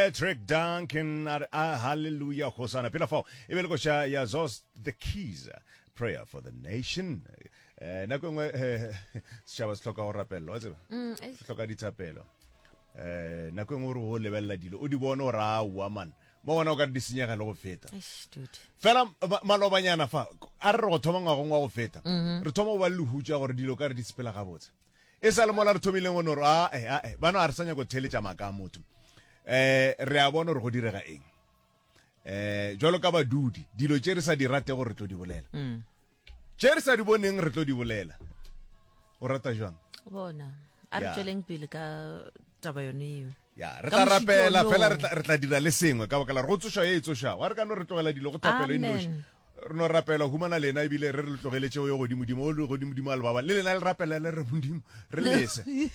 Patrick Duncan a re a hallelujah hosana pela fao e be le koša ya Zos the Keys prayer for the nation eh nako e nngwe eh, setšhaba se hloka go rapelelwa wa tseba mm, se hloka dithapelo eh nako e nngwe o re o lebelela dilo o di bone o ra aowa man mo gona o ka re di senyega le go feta fela malobanyana fa a re re go thoma ngwagong wa go feta mm-hmm. re thoma go ba le lehutša gore dilo ka re di sepela gabotse E sa le mola re thomileng go no re, ae, ae, bano a re sa nyako theeletša maaka a motho. Um re a bona gore go direga eng. Um jwalo ka badudi, dilo tše re sa di ratego re tlo di bolela. Mm. Tše re sa di boneng re tlo di bolela. O rata jwang? Bona, a re tšweleng pele ka taba yone eo. Ya, re tla rapela fela re tla dira le sengwe ka baka la gore go tsošwa ye e tsošago. A re ka no re tlogela dilo go thapelo e nnoši. Re no rapela humana lena ebile re re le tlogeletše o yo godimodimo, o le godimodimo a le baba. Le lena le rapela le re Modimo re lese. Re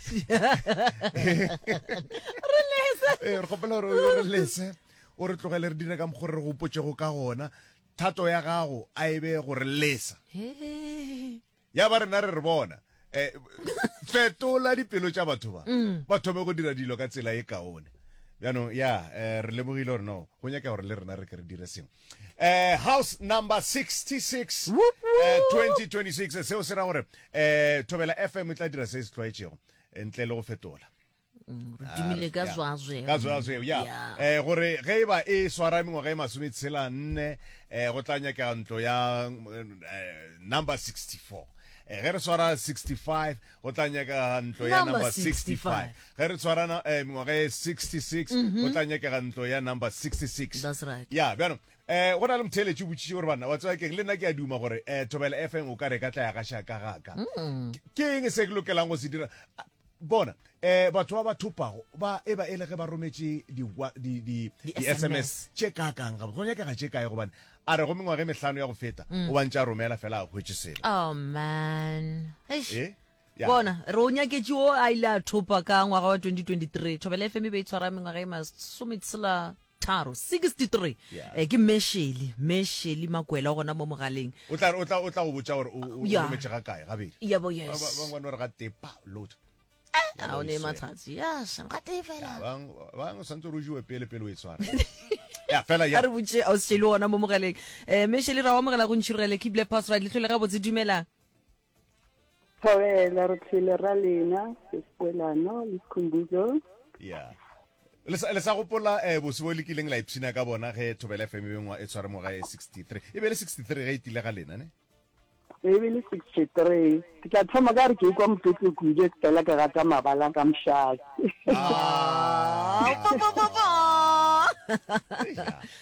lese. Ee, re kgopela gore o re lese, o re tlogele re dire ka mokgo re gopotšego ka gona. Thato ya gago a e be go re lesa. Ya ba rena re re bona eh, fetola dipelo tša batho ba mm. ba thome go dira dilo ka tsela e kaone bjanong ya eh, re lemogile gore no go nyaka gore le rena re ke re dire sengwe eh, house number 66 eh, 2026 seo se ra gore eh, thobela fm e tla dira se se tlwaetšego ntle le go fetola Mm, re tumile ka zwazwe ka zwazwe ya eh gore ge e ba e swara mengwaga e masometshela nne eh go tla nyakega ntlo ya eh, number 64 eh, ge re swara 65 go tla nyakega ntlo ya number 65 ge re tshwara eh, mengwaga e 66 go tla nyakega ntlo ya number 66 That's right. ya bjano eh go na le motheeletši o botšiše gore banna wa tseba keng le nna ke a duma gore eh thobela fm o ka re ka tla ya gaša ka gaka ke eng se ke lokelang go se dira Bona, eh, batho ba ba thopago ba e ba e le ge ba rometše di, di, di, di SMS tše kaakang gabotse, go nyakega tše kae? Gobane a re go mengwaga e mehlano ya go feta mm. o ba ntše a romela fela a hwetše selo. Oh man. Eish. Eh? Yeah. Bona, re o nyaketše o a ile a thopa ka ngwaga wa 2023. Thobela FM e be e tshwara mengwaga e masometshela tharo 63 Yeah. eh, ke mesheli mesheli makwela o gona mo mogaleng O tla o tla o tla go botša gore o o Yeah. rometše ga kae gabedi. yabo Ba ba yes bangwe ba no re ga tee pa load. a o ne matlhatsi yes ga tee fela Bang bang o santse o jewe pele pele o e tshwara. Ya fela ya. a re botše a o sešele gona mo mogaleng um mesheli ra o amogela go ntšhirogele keep le pass right letlho le gabotse dumela Thobela, re tlile ra lena, Seskwelano le Skhumbuzo. Yeah. Le sa, le sa gopola eh, bose bo le kileng la ipshina ka bona ge Thobela FM e bengwa e tshware ngwaga e 63. E be le 63 ge e tile ga lena, ne? E be le 63. Ke tla thoma ka re ke ikwa motlotlo kudu ke fela ke gata mabala ka mošate. Ah.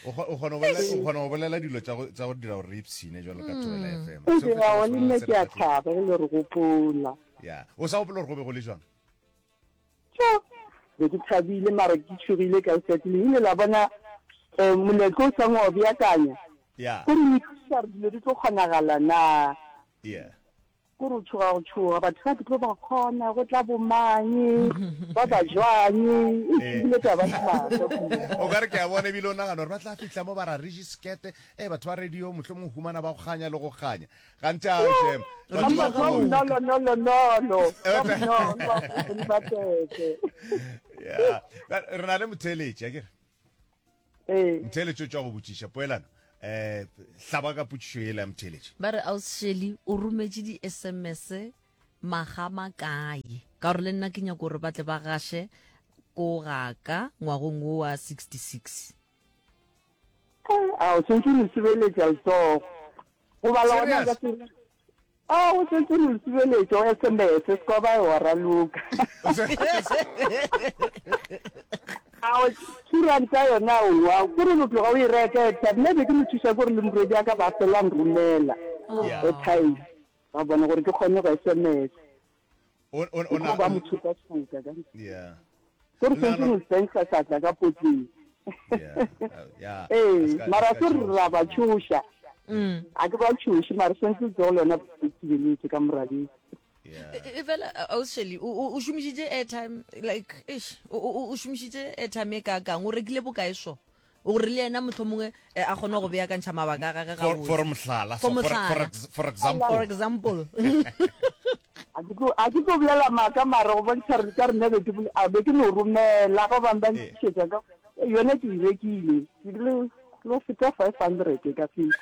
O kgona go bolela dilo tša go dira gore re ipshine jalo ka Thobela mm. FM. Seo le nna ke a thaba ge le re gopola. Ya, o sa gopola gore go be go le jwang? Tjo, be ke thabile mara ke tšhogile ka letšatši le ile la bona um moletlo o sang wa o beakanya. Ya. Gore o ipotšiša gore dilo di tlo kgonagala na. Yeah. Ko re o tšhoga go tšhoga, batho ba ke tlo ba kgona, go tla bomang, ba ba jwang, Eh. ebile taba ke maaka kudu. O ka re ke a bona ebile o nagana gore ba tla fihla mo ba ra re sekete e batho ba radio mohlomong humana ba go ganya le go ganya gantši a shem Ba batho ba ba bonolo nolo nolo, ba bonolo, ba tete. Yeah. Re na le motheeletši akere Ee. Motheeletši o tšwa go botšiša poelano. Eh, hlaba ka potšišo yela ya motheeletši. Ba re Aus Shelly o rometše di SMS maga makae? Ka gore le nna ke nyako gore ba tle ba gaše ko gaka ngwagong wo wa 66. A o sentse o no sibeletša letsogo. Go bala gona Serious? ka se A o sentse o no sibeletša o SMS se ka ba wa raloka. A o thuranta yona owa kore no tloga o e reka airtime nna be ke mo thuša kore le morwedi a ka ba fela nromela Yeah. airtime ba bona gore ke kgone go SMS. O o Ke o tlo ba mo tšhoka-tšhoka ka Yeah. Kore sentse no tsentsa seatla ka potleng. Yeah. Yeah. Ee, mara se re ra ba tšhoša. Mm. A ke ba tšhoše mara sentse letsogo lona le thibeletse ka morabeng. Yeah. E- e fela ausi o o- o šomišitše airtime like eish o o- o šomišitše airtime e kaakang o rekile bokae so gore le yena mohlomongwe eh, a kgone go beakantšha mabaka a gage For gabotse for mohlala, For so for for mohlala. ex- for example. for example A ke tlo a ke tlo bolela maaka mara go bontšha re ka rena be ke bole- a be ke no romela ba bangwe ba Ee. ntlišetša ka. Yona ke e rekile, ke bile lo feta 500 ka feta.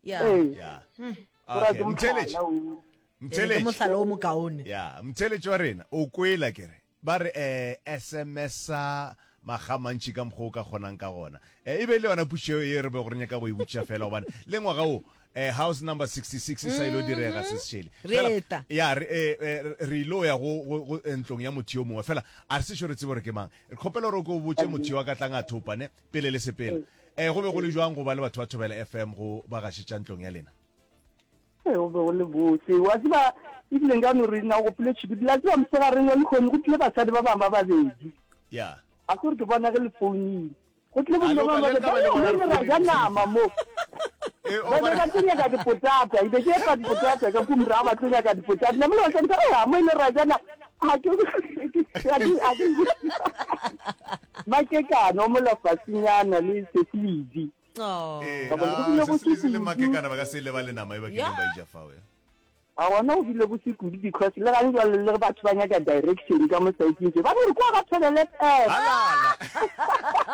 Ya. Ee. Ya. Go ra Okay, ke Mtheeletši. mohlala o. Ke Mtheeletši. mohlala o mokaone. Ya, mtheeletši wa rena, o kwela ke re. Ba re eh SMS-a makga a mantši ka mokgwa o ka kgonang ka gona. Eh, e be e le yona potšišo ye re bego re nyaka go e botšiša fela gobane le ngwaga wo eh, house number 66 e sa ilo direga se sešele. Re Fela, eta. ya, re, eh, eh, re ilo ya go, go, go eh, ntlong ya motho yo mongwe fela a re sešo re tsebe gore ke mang. Re kgopela gore o ke o botše motho yo a ka tlang a thopa ne pele le sepela. Eh, go be go le jwang go ba le batho ba Thobela FM go ba gašetša ntlong ya lena? Ee, go be go le bose. Wa tseba, ebile nka no re na o gopole tšhikudi. La tseba, mosegareng wa lehono go tlile basadi ba bangwe ba babedi. Ya. A ke gore ke bona ge le founile. Go tlile A bomme le ba ka- le babedi. ka ba le Ba bona re re ra ja founile. nama mo. Eh, o Ba be ba- ba tlo nyaka dipotata. E be ke epa dipotata ka kua morago ba tlo nyaka dipotata. Nna mole basadi ba re, "Ah, mo e le ra ja nama." Ga ke- ga ke- ga ke- Makekana o mola fasenyana le Sesidi. Oh. Ee, Ka bona go ah, bile go se se se le kudu. makekana ba ka se lebale nama e ba kileng Yeah. ba ija fao. eh. A gona go bile go se kudu because le gane jwale le ge batho ba nyaka direction ka mo saeteng tše ba no re kwa ga Thobela FM. Halala.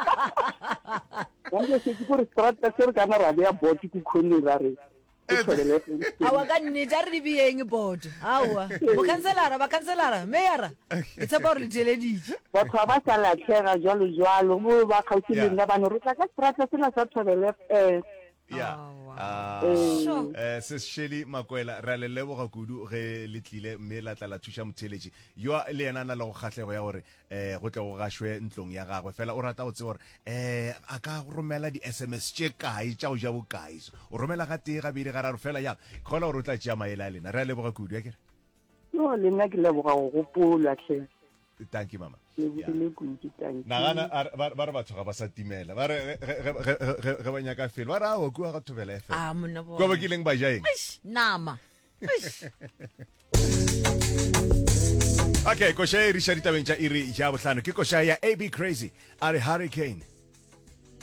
Gane setse kore strata se re kana ra beya board ko khoneng ra re ke Thobela FM. Aowa ka nnete a re di beyeng board. Aowa. Bokhanselara, bakhanselara, meyara. Ke tshepa gore le theeleditše. Batho ga ba sa lahlega jwalo jwalo mo ba kgauswi le Yeah. nna ba no re tla ka strata sela sa Thobela FM. Ya. Aowa. Ah, Sure. eh, Sis Shelly Makwela, re a le leboga kudu ge le tlile mme la tla la thuša motheeletši yo le yena a na le go kgahlego ya gore eh go tle go gašwe ntlong ya gagwe fela o rata go tseba gore eh a ka romela di-sms tše kae tša go ja bokae o romela ga tee gabedi gararo fela ya kgola gore o tla tšea maele a lena re a leboga kudu akere No, le nna ke leboga go gopolwa hle. Thank you mama. Lebogile kudu, thank you. Nagana ba re batho ga ba sa timela ba re ge ba nyaka felo ba re aowa kua ga Thobela FM. Ah, monna bona. Kua ba kileng ba ja eng? Eish, nama. Eish. Okay, koša e riša ditabeng tša iri ya bohlano ke koša ya AB Crazy a re Hurricane.